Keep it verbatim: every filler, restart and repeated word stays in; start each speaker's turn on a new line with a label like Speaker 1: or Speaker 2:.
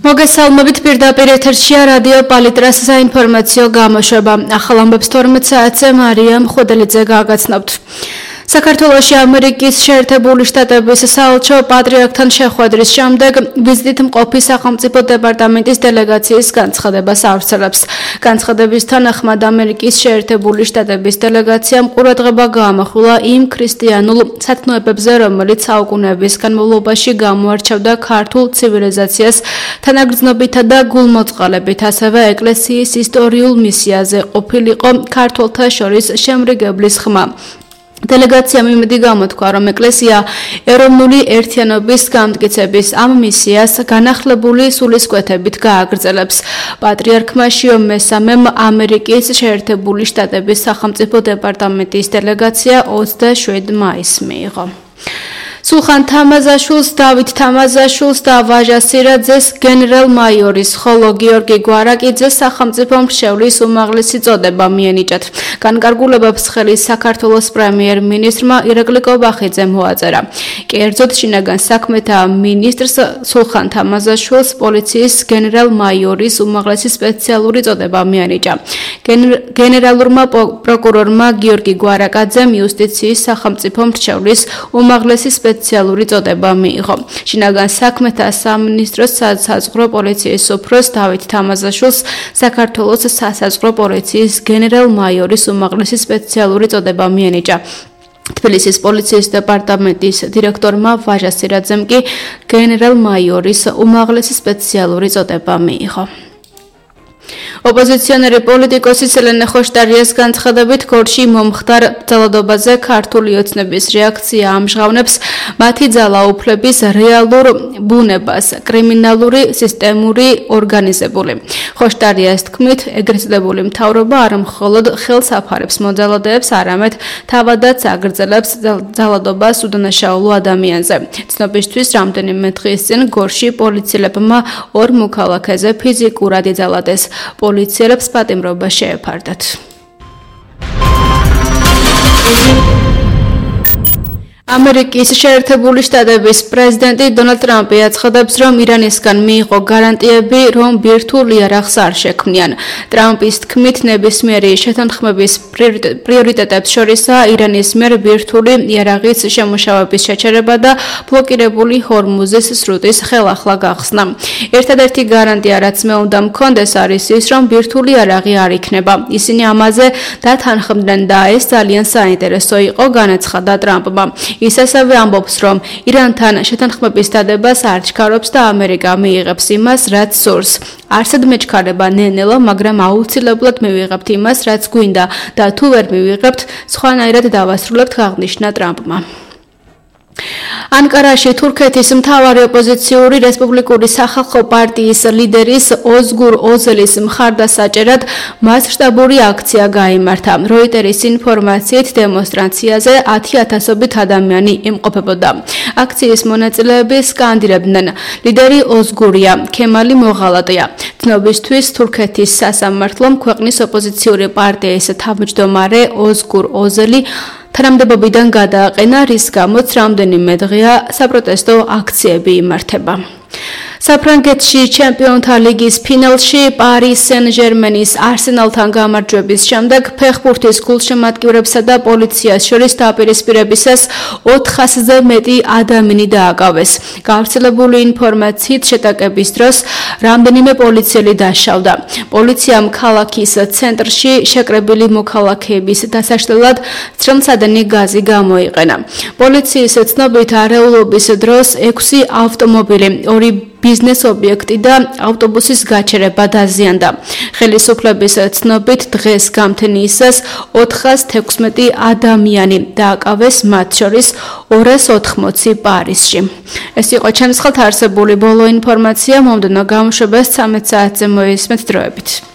Speaker 1: მოგესალმებით პირდაპირ ეთერშია რადიო პალიტრას საინფორმაციო გამოშვება. ახალ ამბებს თორმეტ საათზე მარია მხვედელიძე გაგაცნობთ. საქართველოში ამერიკის შეერთებული შტატების საელჩო პატრიარქთან შეხვედრის შემდეგ ვიზიტით მყოფი სახელმწიფო დეპარტამენტის დელეგაციის განცხადებას ავრცელებს. განცხადების თანახმად ამერიკის შეერთებული შტატების დელეგაციამ ყურადღება გაამახვილა იმ ქრისტიანულ სათნოებებზე, რომელიც საუკუნეების განმავლობაში გამოარჩევდა ქართულ ცივილიზაციას თანაგრძნობითა და გულმოწყალებით, ასევე ეკლესიის ისტორიულ მისიაზე ყოფილიყო ქართველთა შორის შემრიგებლის ხმა. დელეგაციამ იმედი გამოთქვა, რომ ეკლესია ეროვნული ერთიანობის გამტკიცების ამ მისიას განახლებული სულისკვეთებით გააგრძელებს. პატრიარქმა შიო მესამემ ამერიკის შეერთებული შტატების სახელმწიფო დეპარტამენტის დელეგაცია ოცდაშვიდი მაისს მიიღო. სულხან თამაზაშვილს, დავით თამაზაშვილს და ვაჟა სირაძეს გენერალ-მაიორის, ხოლო გიორგი გვარაკიძეს სახელმწიფო მრჩევლის უმაღლესი წოდება მიენიჭათ. განკარგულებებს ხელი საქართველოს პრემიერ-მინისტრმა ირაკლი კობახიძემ მოაწერა. კერძოდ, შინაგან საქმეთა მინისტრს სულხან თამაზაშვილს პოლიციის გენერალ-მაიორის უმაღლესი სპეციალური წოდება მიენიჭა. გენერალურმა პროკურორმა გიორგი გვარაკაძემ იუსტიციის სახელმწიფო მრჩევლის უმაღლესი სპეციალური წოდება მიიღო. შინაგან საქმეთა სამინისტროს საზღვაო პოლიციის უფროს დავით თამაზაშვილს საქართველოს სასაზღვრო პოლიციის გენერალ-მაიორის უმაღლესი სპეციალური წოდება მიენიჭა. თბილისის პოლიციის დეპარტამენტის დირექტორმა ვაჟა სირაძემ კი გენერალ-მაიორის უმაღლესი სპეციალური წოდება მიიღო. ოპოზიციონერი პოლიტიკოსი ელენე ხოშტარიას განცხადებით, გორში მომხდარ ძალადობაზე ქართული ოცნების რეაქცია ამჟღავნებს მათი ძალაუფლების რეალურ ბუნებას, კრიმინალური სისტემური ორგანიზებული. ხოშტარიას თქმით, ეგრესდებული მთავრობა არ მხოლოდ ხელს აფარებს მოძალადეებს, არამედ თავადაც აგრძელებს ძალადობას უდანაშაულო ადამიანზე. ცნობისთვის, რამდენიმე დღის წინ გორში პოლიციელებმა ორ მოქალაქეზე ფიზიკურად იძალადეს. პოლიციელებს პატიმრობა შეეფარდათ. ამერიკის შეერთებული შტატების პრეზიდენტი დონალდ ტრამპი აცხადებს, რომ ირანისგან მიიღო გარანტიები, რომ ბირთვულ იარაღს არ შექმნიან. ტრამპის თქმით, ნებისმიერი შეთანხმების პრიორიტეტებს შორისაა ირანის მიერ ბირთვული იარაღის შემუშავების შეჩერება და ბლოკირებული ჰორმუზის სრუტის ხელახლა გახსნა. ერთადერთი გარანტია, რაც მე უნდა მქონდეს, არის ის, რომ ბირთვული იარაღი არ იქნება. ისინი ამაზე დათანხმდნენ და ეს ძალიან საინტერესო იყო, განაცხადა ტრამპმა. ის ასევე ამბობს, რომ ირანთან შეთანხმების დადებას არ ჩქარობს და ამერიკა მიიღებს იმას, რაც სურს. არსად მეჩქარება ნენელა, მაგრამ აუცილებლად მივიღებთ იმას, რაც გვინდა და თუ ვერ მივიღებთ, სხვანაირად დავასრულებთ, აღნიშნა ტრამპმა. ანკარაში თურქეთის მთავარი ოპოზიციური რესპუბლიკური სახალხო პარტიის ლიდერის ოზგურ ოზელის მხარდასაჭერად მასშტაბური აქცია გაიმართა. როიტერის ინფორმაციით დემონსტრაციაზე ათი ათასობით ადამიანი იმყოფებოდა. აქციის მონაწილეები სკანდირებდნენ: ლიდერი ოზგურია, ქემალი მოღალატია. ცნობისთვის, თურქეთის სასამართლომ ქვეყნის ოპოზიციური პარტიის თავმჯდომარე ოზგურ ოზელი თანამდებობიდან გადააყენა, რის გამოც რამდენიმე დღეა საპროტესტო აქციები იმართება. საფრანგეთში ჩემპიონთა ლიგის ფინალში პარი სენ-ჟერმენის არსენალთან გამარჯვების შემდეგ ფეხბურთის გულშემატკივრებსა და პოლიციას შორის დაპირისპირებისას ოთხასზე მეტი ადამიანი დააკავეს. გავრცელებული ინფორმაციით, შეტაკების დროს რამდენიმე პოლიციელი დაშავდა. პოლიციამ ქალაქის ცენტრში შეკრებილი მოქალაქეების დასაშლელად ცრემლსადენი გაზი გამოიყენა. პოლიციის ცნობით, არეულობის დროს ექვსი ავტომობილი, ორი ბიზნეს ობიექტი და ავტობუსის გაჩერება დაზიანდა. ხელისუფლების ცნობით, დღეს გამთენიისას ოთხას თექვსმეტი ადამიანი დააკავეს, მათ შორის ორას ოთხმოცი პარიზში. ეს იყო ჩემს ხელთ არსებული ბოლო ინფორმაცია, მომდევნო გამოშვებას ცამეტ საათზე მოისმენთ დროებით.